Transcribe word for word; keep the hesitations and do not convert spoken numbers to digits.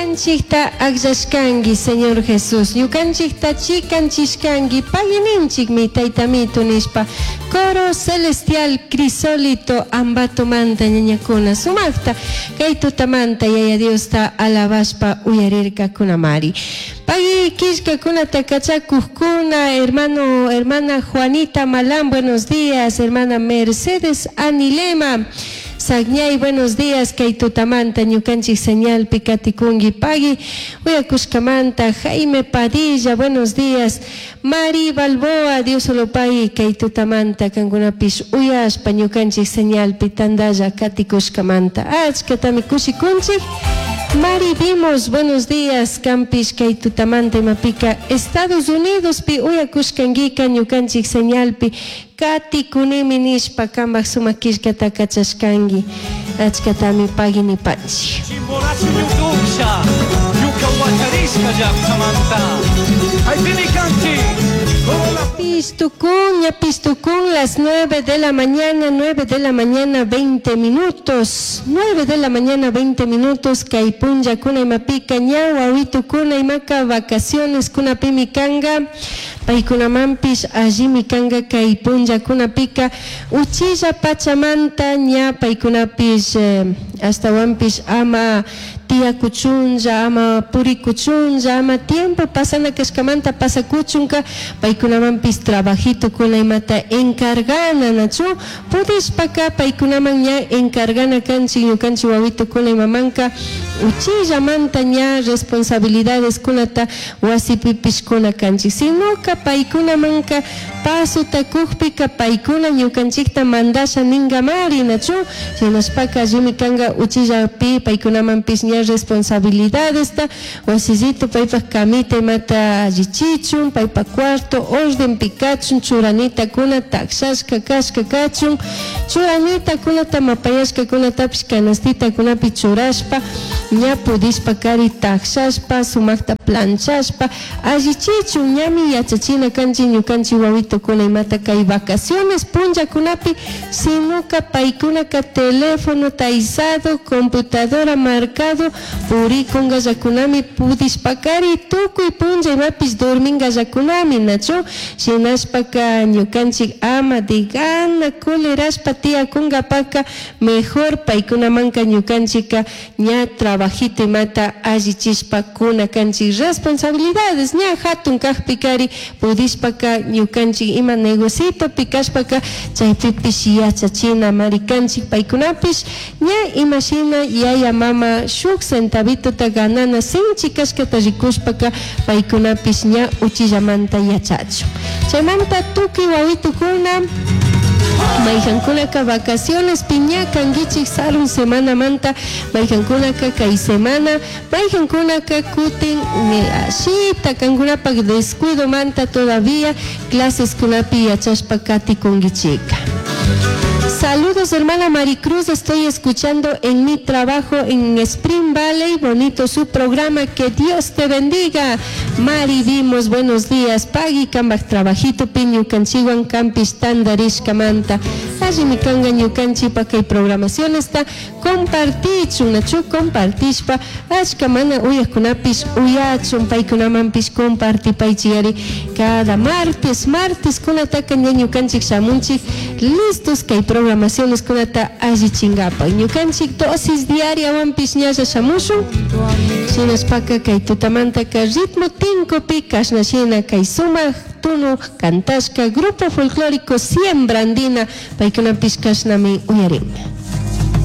Ñukanchikta akllashkanki, Señor Jesús. Ñukanchikta chikanchishkanki, pagui ninchikmi taytamitu nishpa. Coro Celestial Crisólito Ambatomanta ñañakuna sumakta kay tutamanta Yaya Diosta alabashpa uyarirkakunamari. Pagui killkakunata kachakukkuna, hermano, hermana Juanita Malán, buenos días, hermana Mercedes Anilema. Sagñay, buenos días, kay tutamanta ñukanchik señalpi katikunki pagui, uyakushkamanta, Jaime Padilla, buenos días, Mari Balboa, Dios solo pagui, kay tutamanta, kankunapish uyashpa ñukanchik señalpi tandalla katikushkamanta, achkatami kushikunchik. Mari vimos, buenos días, Campish kay tutamanta imapika, Estados Unidos pi uyakushkankika ñukanchik señalpi, katikunimi nishpa kambak sumak killkata kachashkanki, achkatami pagui nipanchik. Chimborazo ñukusha, ñuka wacharishka llaqtamanta. Haypimi kanchik. Pistukun, ya pistukun, las nueve de la mañana, nueve de la mañana, veinte minutos. Nueve de la mañana, veinte minutos, kay punlla kuna imapika, ña wawitu kuna imaka, vacaciones kuna pimi kanga, paykunamanpish allimi kanga kay punlla kunapika, uchilla pachamanta ña paykunapish, eh, astawanpish ama tiyakuchunlla, ama purikuchunlla, ama tiempo pasana kashkamanta pasakuchunka, paykunamanpish trabajito kuna imata encargana, nachu pudishpaka paykunaman ña encargana kanchik ñukanchik wawito kuna imamanka uchillamanta ña responsabilidades kunata wasipipish kuna kanchik, sinoka paykunamanka pasuta kukpika paykuna ñukanchikta mandasha ningamari, nachu shinashpaka allimi kanga uchillapi paykunamanpish ña responsabilidadesta wasillito paypak camita imata allichichun, paypak cuarto orden pikachun, churanita kuna takshashka kashka kachun, churanita kunata mapayashka kunatapish canastita kunapi churashpa ña pudishpa kari takshashpa sumakta planchashpa allichichun, ñami yachachina kanchik ñukanchik wawitokuna imata kay vacaciones punllakunapi, sinuka paykunaka teléfono taizado, computadora marcado purikungallakunami pudishpakari tukuy punlla imapish dormingallakunami, nachu shinashpaka ñukanchik ama de gana culerashpa tiyakunkapaka mejor paykunamanka ñukanchika ña trabajito imata allichishpa kuna kanchik responsabilidades ña hatun kakpikari pudishpaka ñukanchik ima negocito pikashpaka chaypipish yachachina mari kanchik paykunapish ña imashina yaya mama shuk centavitota ganana sinchi kashkata rikushpaka paykunapish ña uchillamanta yachachun. Chaymanta tukuy wawitukuna mayjankunaka vacaciones piña kankichik sarun semanamanta, mayjankunaka kay semana, mayjankunaka kutin ashita kankunapak descuidomanta todavía clases kunapi yachashpa katikunkichika. Saludos, hermana Maricruz, estoy escuchando en mi trabajo en Spring Valley, bonito su programa, que Dios te bendiga. Mari, vimos, buenos días, pagui kambak trabajito ñukanchikwan kampish tandarishkamanta. Allimi kanga ñukanchikpa kay programación está compartichun, nachu compartishpa, achka mana uyajkunapish uyachun, paykunamanpish compartipaychiyari cada martes, martes kunataka ña ñukanchik shamunchik listos kay programaciones kunata allichinkapak. Ñukanchik dosis diaria wanpish ñalla shamushun, shinashpaka kay tutamantaka ritmo tinkupi kashna shina kay sumak tunu kantashka grupo folclórico Siembra Andina, paykunapish kashnami uyarin.